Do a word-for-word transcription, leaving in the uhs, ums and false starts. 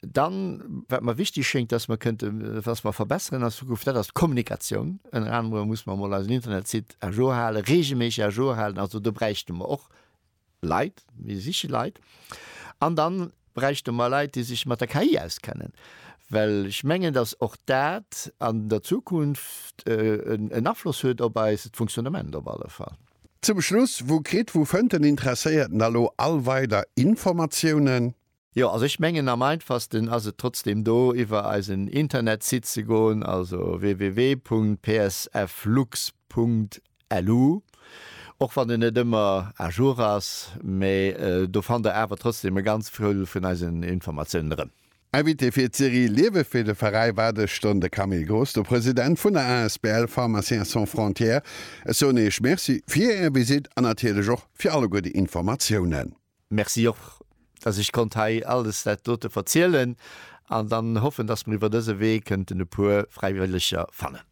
Dann, wat mer wichteg schéngt, dass mer kënnten, was mer verbesseren an Zukunft, dat ass d'Kommunikatioun. Ënner anerem muss mer emol eisen Internetsite à jour halen, regelméisseg à jour halen. Also do bräichte mer och Leit, mir siche Leit. An dann bräichte mer Leit, déi sech mat der K I auskennen, well ech mengen, dass och dat an der Zukunft en Afloss huet op eist Fonctionnement op alle Fall. Zum Schluss, Wou kritt, wou fënnt den Interesséierten da lo all weider Informatiounen? Jo, also ech mengen am einfachsten ass et trotzdem do iwwer eisen Internetsite ze goen, also www.psflux.lu, och wann en net ëmmer à jour ass, mä do fannt der awer trotzdem e ganz vill vun eisen Informatiounen erëm. Invité fir d'Serie Liewe fir de Veräi war dës Stonn de Camille Graas, de President vun der asbl Pharmaciens sans frontières. Ech soen Iech Merci fir Är Visitt an natierlech och fir alleguer déi Informatiounen. Merci och, dass ech konnt hei alles dat dote verzielen an dann hoffen, dass mer iwwer dëse Wee kënnten e puer Fräiwëlleger fannen.